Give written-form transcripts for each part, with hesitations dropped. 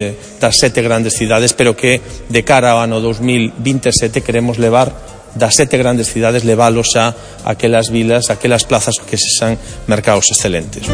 das 7 grandes cidades, pero que de cara ao ano 2027 queremos levar das 7 grandes cidades, leválos a aquelas vilas, aquelas plazas que sexan mercados excelentes.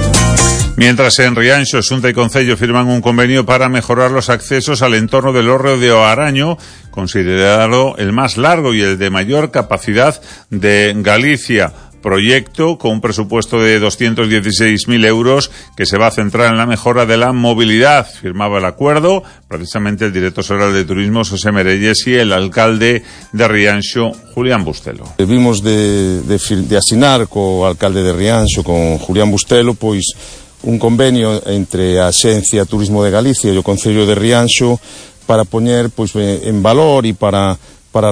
Mientras en Rianxo, Xunta y Concello firman un convenio para mejorar los accesos al entorno del hórreo de Oaraño, considerado el más largo y el de mayor capacidad de Galicia. Proyecto con un presupuesto de 216.000 euros que se va a centrar en la mejora de la movilidad. Firmaba el acuerdo precisamente el director general de Turismo, José Merelles, y el alcalde de Rianxo, Julián Bustelo. Vimos de asinar co alcalde de Rianxo, con Julián Bustelo, pois un convenio entre a Axencia Turismo de Galicia e o Concello de Rianxo para poñer pois en valor e para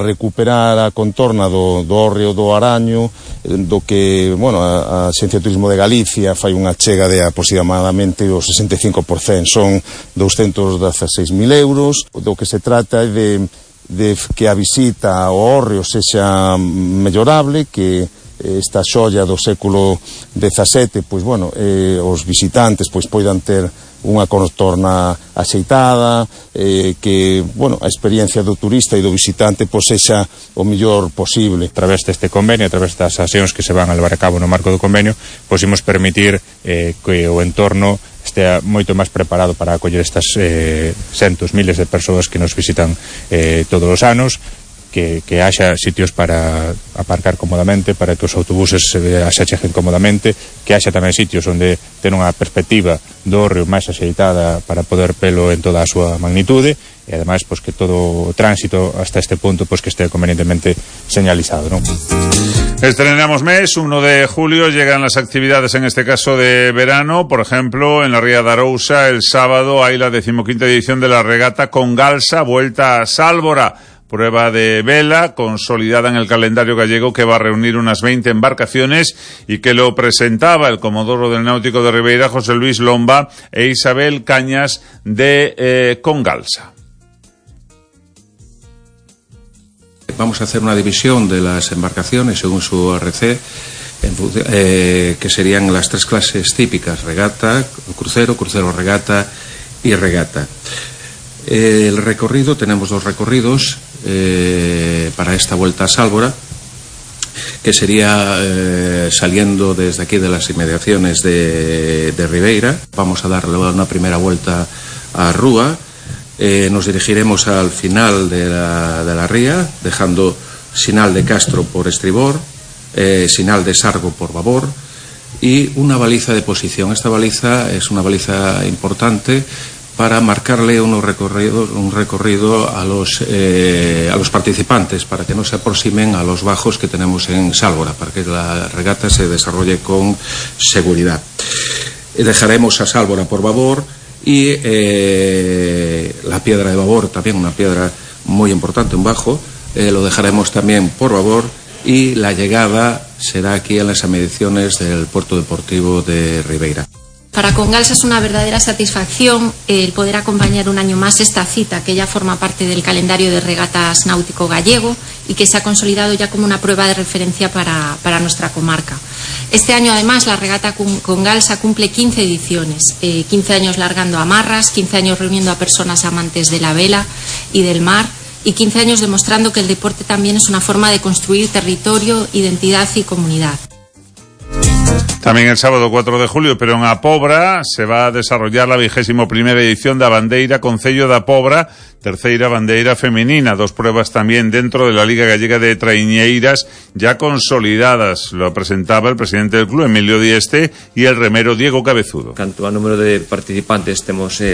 recuperar a contorna do hórreo do Araño, do que, bueno, a Axencia Turismo de Galicia fai unha chega de aproximadamente o 65%, son 216.000 euros, do que se trata é de que a visita ao hórreo sexa mellorable, que esta xoia do século XVII, pois, bueno, os visitantes pois poidan ter unha contorna axeitada, que, bueno, a experiencia do turista e do visitante pois sexa o mellor posible. A través deste convenio, a través das accións que se van a levar a cabo no marco do convenio, pois imos permitir que o entorno estea moito máis preparado para acoller estas centos, miles de persoas que nos visitan todos os anos, que haxa sitios para aparcar cómodamente, para que os autobuses se acheguen cómodamente, que haxa tamén sitios onde ten unha perspectiva do hórreo máis axeitada para poder velo en toda a súa magnitude, e ademais pois que todo o tránsito hasta este punto pois que este convenientemente señalizado, ¿no? Estrenamos mes, 1 de julio, llegan las actividades, en este caso de verano. Por ejemplo, en la Ría de Arousa, el sábado hay la 15ª edición de la regata con Galsa, vuelta a Sálvora. Prueba de vela consolidada en el calendario gallego, que va a reunir unas 20 embarcaciones y que lo presentaba el comodoro del Náutico de Ribeira, José Luis Lomba, e Isabel Cañas de Congalsa. Vamos a hacer una división de las embarcaciones según su RC, que serían las 3 clases típicas: regata, crucero, crucero regata y regata. El recorrido, tenemos 2 recorridos para esta vuelta a Sálvora, que sería saliendo desde aquí de las inmediaciones de Ribeira. Vamos a darle una primera vuelta a Rúa, nos dirigiremos al final de la ría, dejando Sinal de Castro por estribor, Sinal de Sargo por babor, y una baliza de posición. Esta baliza es una baliza importante para marcarle un recorrido a los participantes, para que no se aproximen a los bajos que tenemos en Sálvora, para que la regata se desarrolle con seguridad. Dejaremos a Sálvora por babor y la piedra de babor, también una piedra muy importante, un bajo, lo dejaremos también por babor, y la llegada será aquí en las inmediaciones del puerto deportivo de Ribeira. Para Congalsa es una verdadera satisfacción el poder acompañar un año más esta cita, que ya forma parte del calendario de regatas náutico gallego y que se ha consolidado ya como una prueba de referencia para nuestra comarca. Este año, además, la regata Congalsa cumple 15 ediciones, 15 años largando amarras, 15 años reuniendo a personas amantes de la vela y del mar, y 15 años demostrando que el deporte también es una forma de construir territorio, identidad y comunidad. También el sábado 4 de julio, pero en Apobra, se va a desarrollar la 21ª edición da Bandeira Concello da Apobra, terceira bandeira femenina. 2 pruebas también dentro de la Liga Gallega de Traiñeiras, ya consolidadas. Lo presentaba el presidente del club, Emilio Dieste, y el remero Diego Cabezudo. Canto a número de participantes, temos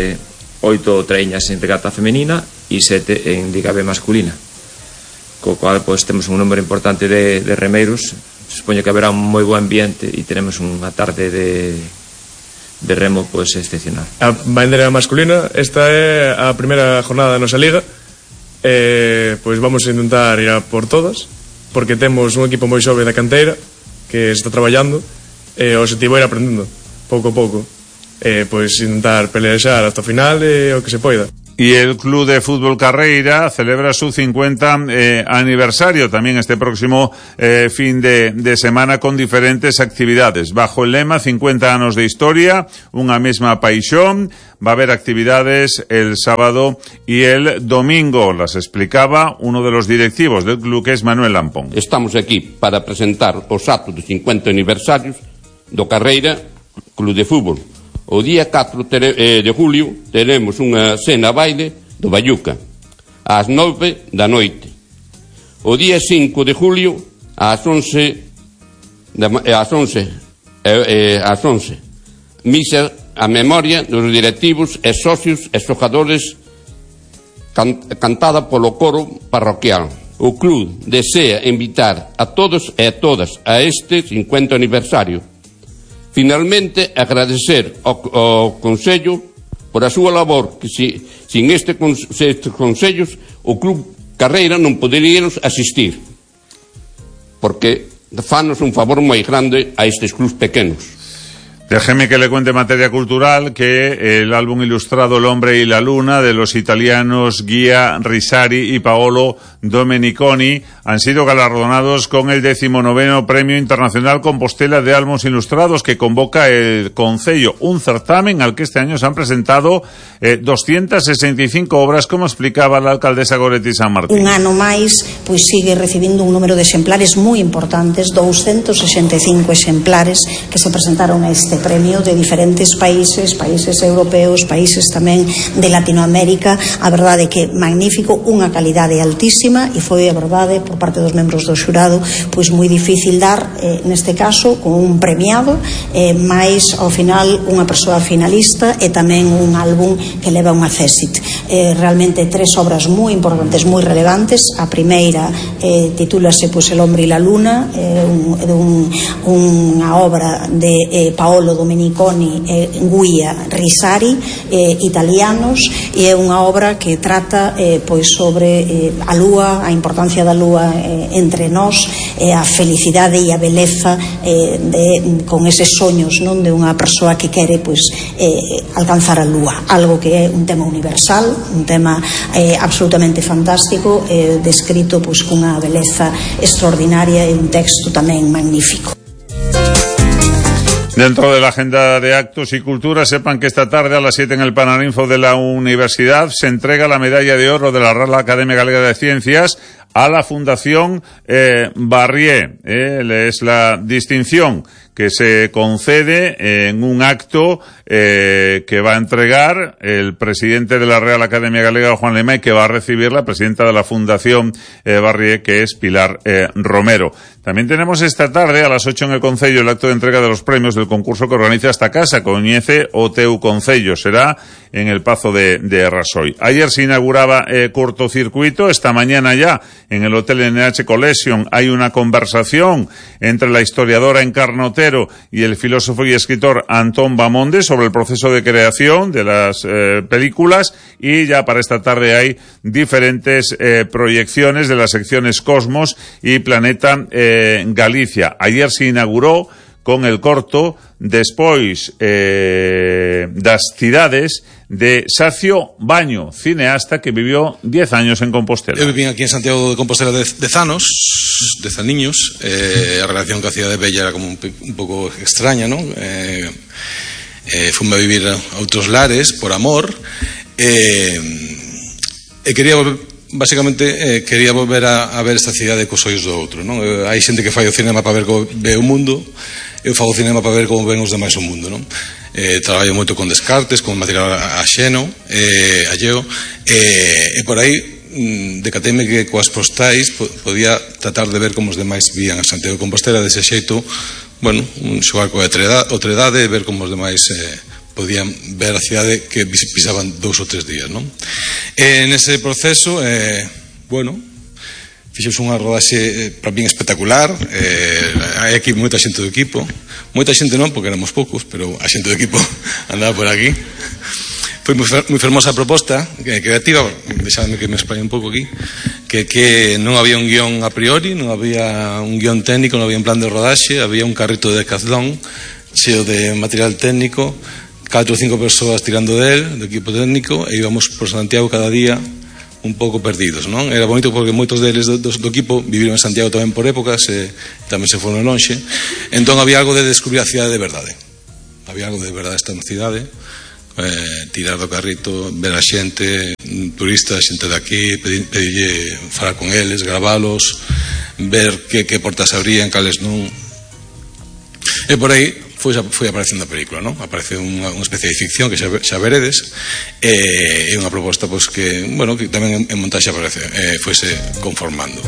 8 traíñas en regata femenina e 7 en Liga B masculina, co cual pues temos un número importante de remeiros. Supoño que haberá un moi bo ambiente e teremos unha tarde de remo pues excepcional. A bandeira masculina, esta é a primeira jornada da nosa liga, pois vamos a intentar ir a por todas, porque temos un equipo moi xove da canteira que está traballando, e o objetivo é ir aprendendo pouco a pouco, pois intentar pelear hasta o final o que se poida. Y el Club de Fútbol Carreira celebra su 50 aniversario también este próximo fin de semana con diferentes actividades. Bajo el lema 50 anos de historia, unha mesma paixón, va a haber actividades el sábado y el domingo. Las explicaba uno de los directivos del club, que es Manuel Lampón. Estamos aquí para presentar os actos de 50 aniversarios do Carreira Club de Fútbol. O día 4 de julio teremos unha cena baile do Bayuca ás 9 da noite. O día 5 de julio ás 11 misa a memoria dos directivos e socios e xogadores cantada polo coro parroquial. O club desea invitar a todos e a todas a este 50 aniversario. Finalmente, agradecer ao Consello por a súa labor, que sin estes consellos o Club Carreira non poderíamos asistir, porque fanos un favor moi grande a estes clubs pequenos. Déjeme que le cuente en materia cultural que el álbum ilustrado El hombre y la luna de los italianos Guia Risari y Paolo Domeniconi han sido galardonados con el 19º Premio Internacional Compostela de Álbumes Ilustrados que convoca el Concello, un certamen al que este año se han presentado 265 obras, como explicaba la alcaldesa Goretti San Martín. Un ano máis, pois sigue recibindo un número de exemplares moi importantes, 265 exemplares que se presentaron a este premio de diferentes países europeos, países tamén de Latinoamérica. A verdade é que magnífico, unha calidade altísima, e foi a verdade por parte dos membros do xurado pois moi difícil dar neste caso con un premiado, máis ao final unha persoa finalista e tamén un álbum que leva unha césit. Realmente tres obras moi importantes, moi relevantes. A primeira titúlase pois El hombre y la luna, unha obra de Paolo Domeniconi e Guia Risari, italianos, e é unha obra que trata pois sobre a lúa, a importancia da lúa entre nós, a felicidade e a beleza con eses soños, non, de unha persoa que quere pois alcanzar a lúa, algo que é un tema universal, un tema absolutamente fantástico, descrito pois cunha beleza extraordinaria e un texto tamén magnífico. Dentro de la agenda de actos y cultura, sepan que esta tarde a las 7 en el Paraninfo de la Universidad se entrega la medalla de oro de la Real Academia Galega de Ciencias a la Fundación Barrié. Es la distinción que se concede en un acto que va a entregar el presidente de la Real Academia Galega, Juan Lema, y que va a recibir la presidenta de la Fundación Barrié, que es Pilar Romero. También tenemos esta tarde a las 8 en el Concello el acto de entrega de los premios del concurso que organiza esta casa, Coñece o Teu Concello. Será en el Pazo de Rasoy. Ayer se inauguraba cortocircuito, esta mañana ya en el Hotel NH Collection hay una conversación entre la historiadora Encarna Otero y el filósofo y escritor Antón Bamonde sobre el proceso de creación de las películas, y ya para esta tarde hay diferentes proyecciones de las secciones Cosmos y Planeta Galicia. Ayer se inauguró con el corto Despois das cidades de Sacio Baño, cineasta que vivió 10 años en Compostela. Eu viví aquí en Santiago de Compostela 10 anos, 10 aniños. A relación coa cidade bella era como un pouco extraña, non? Fume a vivir a outros lares por amor, e quería volver. Basicamente quería volver a ver esta cidade cos ollos do outro, non? Hai xente que fai o cinema para ver como ve o mundo, eu fago o cinema para ver como ven os demais o mundo, non? Traballo moito con descartes, con material axeno, alleo, e por aí decateime que coas postais podía tratar de ver como os demais vían a Santiago de Compostela dese xeito, bueno, xogar coa outredade, ver como os demais podían ver a cidade que pisaban 2 ou 3 días, non? Nese proceso, bueno, fixemos unha rodaxe para min espectacular. Hai aquí moita xente do equipo, moita xente non, porque éramos poucos, pero a xente do equipo andaba por aquí. Foi moi fermosa a proposta creativa, deixadme que me explaine un pouco aquí, que non había un guión a priori, non había un guión técnico, non había un plan de rodaxe, había un carrito de Decathlon cheo de material técnico 4 ou 5 persoas tirando del, do equipo técnico, e íbamos por Santiago cada día un pouco perdidos, non? Era bonito porque moitos deles do equipo viviron en Santiago tamén por épocas e tamén se foron lonxe, entón había algo de descubrir a cidade de verdade, había algo de verdade esta cidade, tirar do carrito, ver a xente, turistas, xente de aquí, pedirlle falar con eles, gravalos, ver que portas abrían, cales non, e por aí foi aparecendo a película, non? Aparece unha especie de ficción que xa veredes, e unha proposta que tamén en montaxe fuese conformando.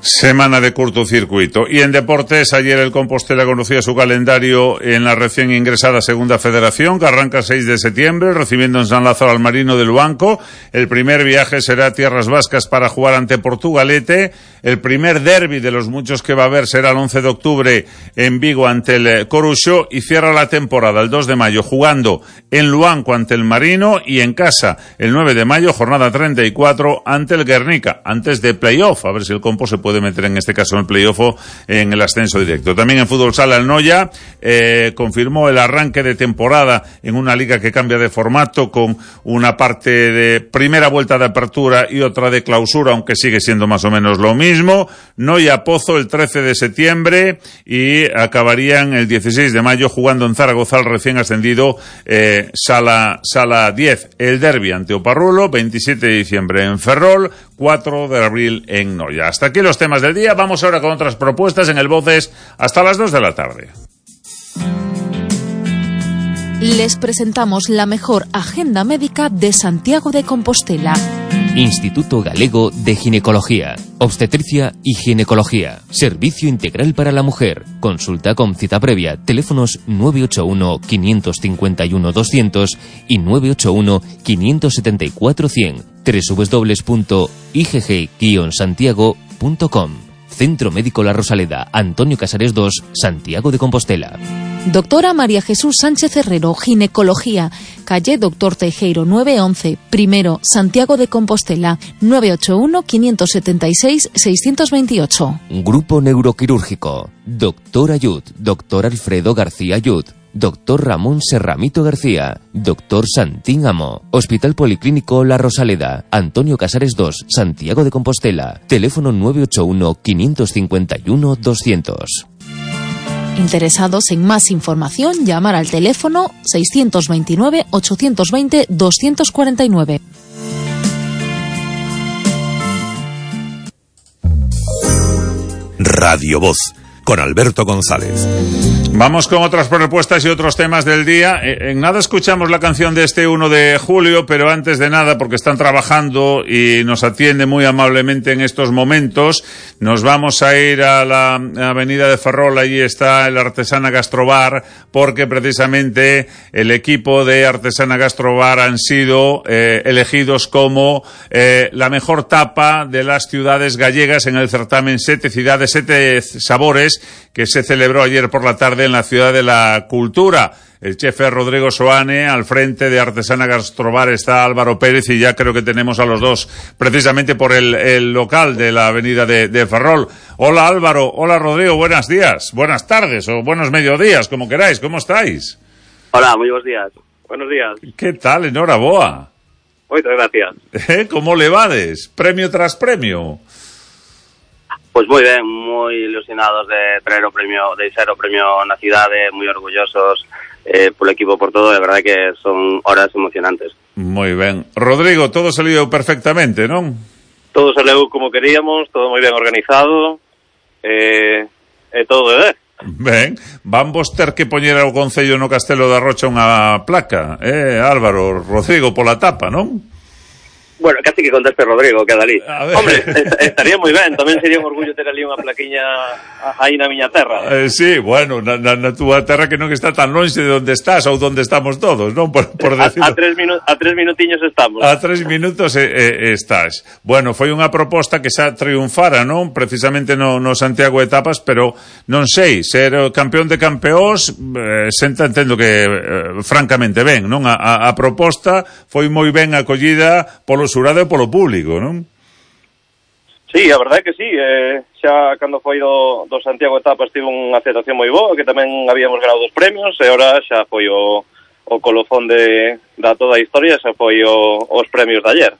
Semana de cortocircuito. Y en deportes, ayer el Compostela conocía su calendario en la recién ingresada Segunda Federación, que arranca el 6 de septiembre, recibiendo en San Lázaro al Marino del Luanco. El primer viaje será a Tierras Vascas para jugar ante Portugalete. El primer derbi de los muchos que va a haber será el 11 de octubre en Vigo ante el Coruxo, y cierra la temporada el 2 de mayo jugando en Luanco ante el Marino, y en casa el 9 de mayo, jornada 34, ante el Guernica, antes de playoff, a ver si el Compo se puede meter en este caso en el playoff en el ascenso directo. También en fútbol sala el Noya confirmó el arranque de temporada en una liga que cambia de formato, con una parte de primera vuelta de apertura y otra de clausura, aunque sigue siendo más o menos lo mismo. Noya Pozo el 13 de septiembre y acabarían el 16 de mayo jugando en Zaragoza al recién ascendido Sala 10. El derbi ante Oparrulo, 27 de diciembre en Ferrol, 4 de abril en Noya. Hasta aquí los temas del día. Vamos ahora con otras propuestas en el Voces hasta las 2 de la tarde. Les presentamos la mejor agenda médica de Santiago de Compostela. Instituto Galego de Ginecología, Obstetricia y Ginecología. Servicio integral para la mujer. Consulta con cita previa. Teléfonos 981-551-200 y 981-574-100. www.igg-santiago.com. Centro Médico La Rosaleda, Antonio Casares 2, Santiago de Compostela. Doctora María Jesús Sánchez Herrero, Ginecología, calle Doctor Teijeiro 911, primero, Santiago de Compostela, 981-576-628. Grupo Neuroquirúrgico, Doctor Ayud, Doctor Alfredo García Ayud, Doctor Ramón Serramito García, Doctor Santín Amo, Hospital Policlínico La Rosaleda, Antonio Casares 2, Santiago de Compostela, teléfono 981-551-200. Interesados en más información, llamar al teléfono 629-820-249. Radio Voz, con Alberto González. Vamos con otras propuestas y otros temas del día. En nada escuchamos la canción de este 1 de julio, pero antes de nada, porque están trabajando y nos atiende muy amablemente en estos momentos, nos vamos a ir a la avenida de Ferrol. Allí está el Artesana Gastrobar, porque precisamente el equipo de Artesana Gastrobar han sido elegidos como la mejor tapa de las ciudades gallegas en el certamen 7 ciudades, 7 sabores, que se celebró ayer por la tarde en la Ciudad de la Cultura. El chef es Rodrigo Soane, al frente de Artesana Gastrobar está Álvaro Pérez, y ya creo que tenemos a los dos precisamente por el local de la avenida de Ferrol. Hola Álvaro, hola Rodrigo, buenos días, buenas tardes o buenos mediodías, como queráis, ¿cómo estáis? Hola, muy buenos días. Buenos días. ¿Qué tal? Enhoraboa. Muchas gracias. ¿Cómo le vades? Premio tras premio. Pues moi ben, moi ilusionados de ser o premio na cidade, moi orgullosos polo equipo, por todo, de verdade que son horas emocionantes. Moi ben. Rodrigo, todo salió perfectamente, non? Todo salió como queríamos, todo moi ben organizado, todo de ver. Ben, van vos ter que poñer ao Concello no Castelo da Rocha unha placa, Álvaro, Rodrigo, pola tapa, non? Bueno, casi que conteste Rodrigo, queda ali. Hombre, estaría moi ben, tamén sería un orgullo ter ali unha plaquiña aí na miña terra. Sí, bueno, na túa terra que non está tan longe de onde estás ou donde estamos todos, non? Por decirlo. A 3 minutiños estamos. A 3 minutos estás. Bueno, foi unha proposta que xa triunfara, non? Precisamente no Santiago Etapas, pero non sei, ser campeón de campeóns, entendo que francamente ben, non? A proposta foi moi ben acollida polo xurado e polo público, non? Sí, a verdade é que sí, xa cando foi do Santiago Etapas tivo unha aceptación moi boa, que tamén habíamos ganado 2 premios, e ora xa foi o colofón da toda a historia, xa foi os premios de ayer.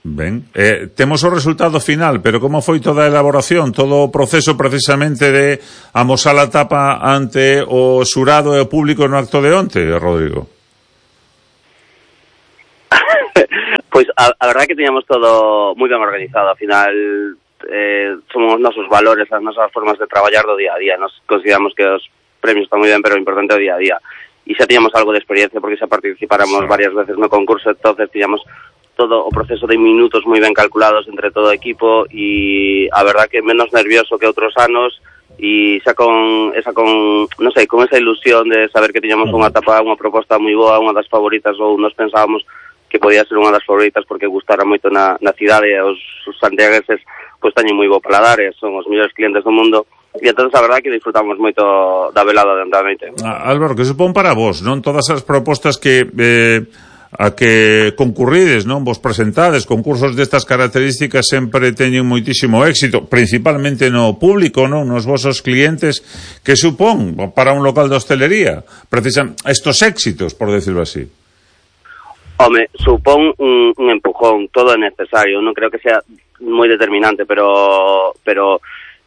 Ben, temos o resultado final, pero como foi toda a elaboración, todo o proceso precisamente de amosar a tapa ante o xurado e o público no acto de onte, Rodrigo? Pois a verdade é que teníamos todo moi ben organizado. Ao final son os nosos valores, as nosas formas de traballar do día a día. Nos consideramos que os premios están moi ben, pero o importante é o día a día. E xa teníamos algo de experiencia porque xa participáramos varias veces no concurso, entonces teníamos todo o proceso de minutos moi ben calculados entre todo o equipo, e a verdade que menos nervioso que outros anos, e xa con esa ilusión de saber que tiñamos unha etapa, unha proposta moi boa, unha das favoritas, ou nos pensábamos que podía ser unha das favoritas porque gustara moito na cidade, e os santiagueses pois teñen moi bo paladar e son os mellores clientes do mundo, e entón a verdade que disfrutamos moito da velada de noite. Álvaro, que supón para vos, non? Todas as propostas que a que concurrides, non? Vos presentades, concursos destas características sempre teñen moitísimo éxito, principalmente no público, non? Nos vosos clientes, que supón para un local de hostelería precisan estos éxitos, por decirlo así. Home, supón un empujón, todo é necesario, non creo que sea moi determinante, pero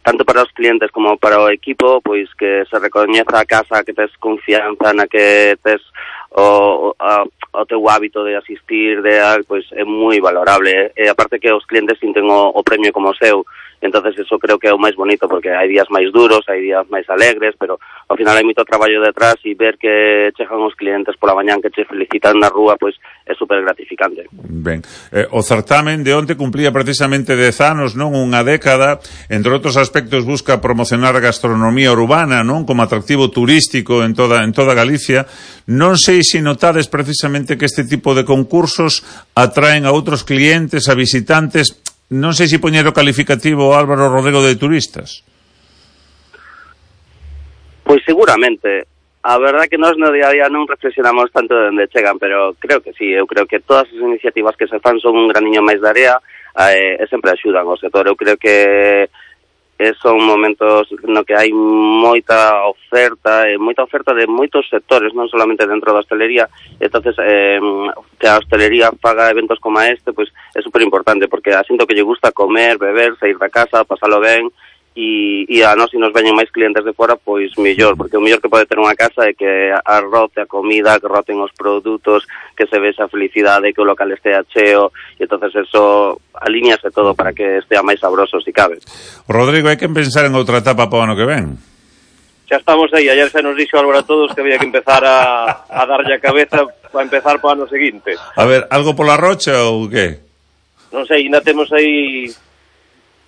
tanto para os clientes como para o equipo, pois que se recoñeza a casa, que tes confianza na que tes o teu hábito de asistir, pois é moi valorable, e aparte que os clientes sinten o premio como seu, entonces eso creo que é o máis bonito, porque hai días máis duros, hai días máis alegres, pero ao final hai moito traballo detrás, e ver que chegan os clientes pola mañán que che felicitan na rúa, pois é super gratificante. Ben, o certamen de onte cumplía precisamente 10 anos, non? Unha década, entre outros aspectos busca promocionar a gastronomía urbana, non? Como atractivo turístico en toda Galicia. Non sei se notades precisamente que este tipo de concursos atraen a outros clientes, a visitantes. Non sei se poñer o calificativo Álvaro Rodrigo de turistas. Pois seguramente. A verdade que nós no día a día non reflexionamos tanto de onde chegan, pero creo que sí. Eu creo que todas as iniciativas que se fan son un graniño máis de area e sempre axudan ao sector. Eu creo que son momentos no que hai moita oferta de moitos sectores, non solamente dentro da hostelería. Entonces, que a hostelería faga eventos como este, pois é super importante, porque asinto que lle gusta comer, beber, sair da casa, pasalo ben, e a nós, se nos veñen máis clientes de fora, pois mellor, porque o mellor que pode ter unha casa é que arrote a comida, que roten os produtos, que se vexa a felicidade, que o local estea cheo, e entonces eso alíñase todo para que estea máis sabroso, se cabe. Rodrigo, hai que pensar en outra etapa para o ano que ven. Xa estamos aí, ayer xa nos dixo Álvaro a todos que había que empezar a darlle a cabeza para empezar para o ano seguinte. A ver, algo pola rocha ou que? Non sei, ainda temos aí...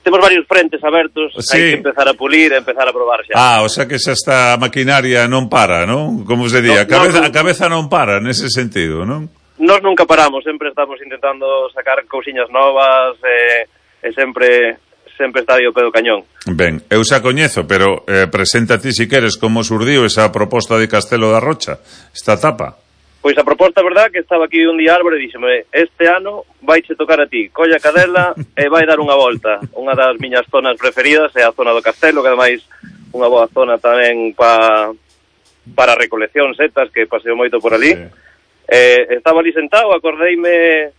Temos varios frentes abertos, sí. Hai que empezar a pulir e empezar a probar xa. O sea que xa esta maquinaria non para, non? Como se di, a cabeza non para, nese sentido, non? Nós nunca paramos, sempre estamos intentando sacar cousiñas novas e sempre está aí o pé do cañón. Ben, eu xa coñezo, pero presenta ti si queres como surdiu esa proposta de Castelo da Rocha, esta etapa. Pois a proposta, verdad, que estaba aquí un día Álvaro e díxeme, este ano vaiche tocar a ti, colla a cadela e vai dar unha volta. Unha das miñas zonas preferidas é a zona do Castelo, que ademais unha boa zona tamén para recolección, setas, que paseo moito por ali. Sí. Estaba ali sentado, acordeime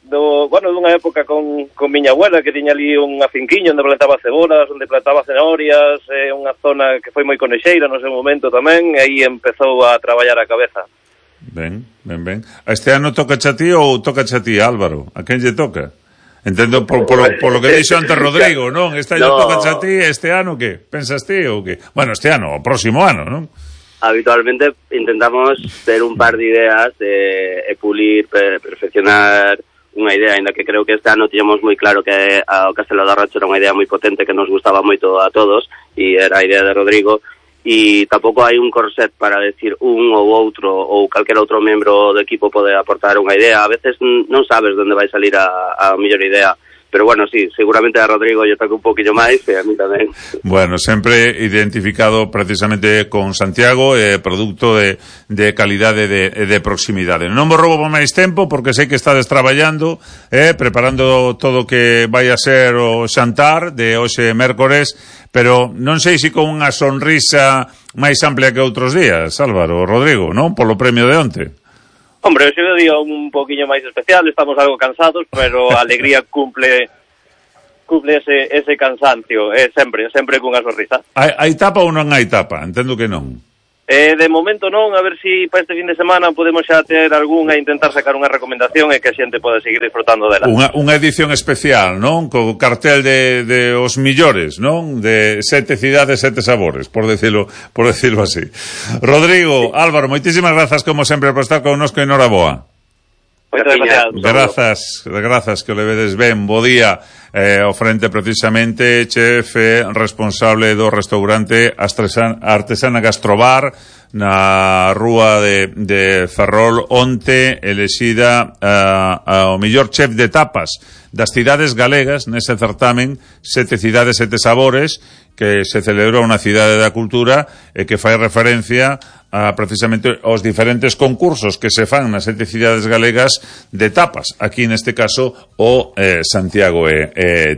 dunha época con miña abuela, que tiña ali unha finquiña onde plantaba cebolas, onde plantaba cenorias, unha zona que foi moi conexeira no seu momento tamén, e aí empezou a traballar a cabeza. Ben. Este ano toca a ti ou toca a ti, Álvaro? A quen lle toca? Entendo por lo que dixo antes Rodrigo, non? Este ano toca a ti, este ano que? Pensas ti ou que? Bueno, este ano, o próximo ano, non? Habitualmente intentamos ter un par de ideas e pulir, perfeccionar unha idea, ainda que creo que este ano tiñamos moi claro que o Castelo da Rocha era unha idea moi potente que nos gustaba moito a todos, e era a idea de Rodrigo. E tampouco hai un corset para decir un ou outro ou calquer outro membro do equipo pode aportar unha idea. A veces non sabes onde vai salir a mellor idea, pero bueno, sí, seguramente a Rodrigo lle toca un poquinho máis e a mí tamén. Bueno, sempre identificado precisamente con Santiago, produto de calidade de proximidade. Non vos roubo máis tempo porque sei que estades traballando, preparando todo o que vai a ser o xantar de hoxe mércores, pero non sei se con unha sonrisa máis amplia que outros días, Álvaro, Rodrigo, non? Polo premio de onte. Hombre, hoxe é un día un poquinho máis especial, estamos algo cansados, pero a alegría cumple ese cansancio, sempre cunha sonrisa. Hai tapa ou non hai tapa? Entendo que non. De momento non, a ver se para este fin de semana podemos xa ter algunha e intentar sacar unha recomendación e que a xente pode seguir disfrutando dela. Unha edición especial, non? Co cartel de os millores, non? De 7 cidades, 7 sabores, por decirlo así. Rodrigo, Álvaro, moitísimas grazas como sempre por estar connosco e noraboa. Grazas, que o levedes ben. Bo día. O frente precisamente chef responsable do restaurante Artesana Gastrobar na rúa de Ferrol, onte elexida o mellor chef de tapas das cidades galegas nese certamen 7 cidades, 7 sabores que se celebrou na Cidade da Cultura e que fai referencia a precisamente os diferentes concursos que se fan nas 7 cidades galegas de tapas, aquí neste caso o Santiago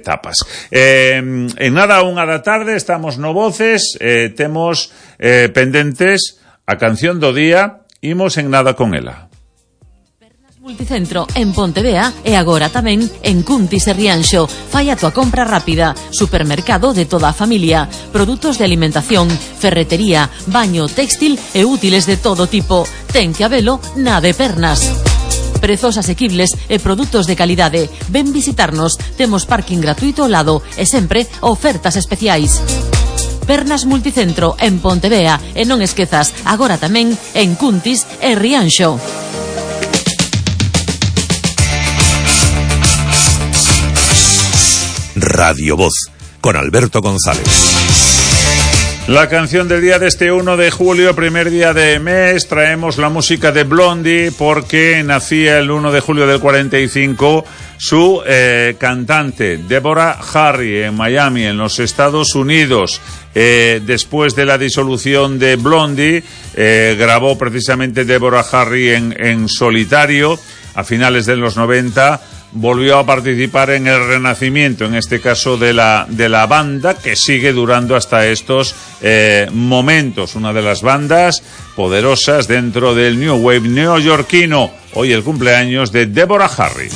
Tapas. En nada, 1 da tarde estamos no Voces, temos pendentes a canción do día, imos en nada con ela. Multicentro en Pontevea e agora tamén en Cuntis e Rianxo. Fai a tua compra rápida. Supermercado de toda a familia. Produtos de alimentación, ferretería, baño, textil e útiles de todo tipo. Ten que habelo na de Pernas. Prezos asequibles e produtos de calidade. Ven visitarnos. Temos parking gratuito ao lado e sempre ofertas especiais. Pernas Multicentro en Pontevea e non esquezas, agora tamén en Cuntis e Rianxo. Radio Voz, con Alberto González. La canción del día de este 1 de julio, primer día de mes, traemos la música de Blondie porque nacía el 1 de julio del 45 su cantante Deborah Harry en Miami, en los Estados Unidos. Después de la disolución de Blondie, grabó precisamente Deborah Harry en solitario a finales de los 90. Volvió a participar en el renacimiento, en este caso de la banda, que sigue durando hasta estos momentos. Una de las bandas poderosas dentro del New Wave neoyorquino. Hoy el cumpleaños de Deborah Harry.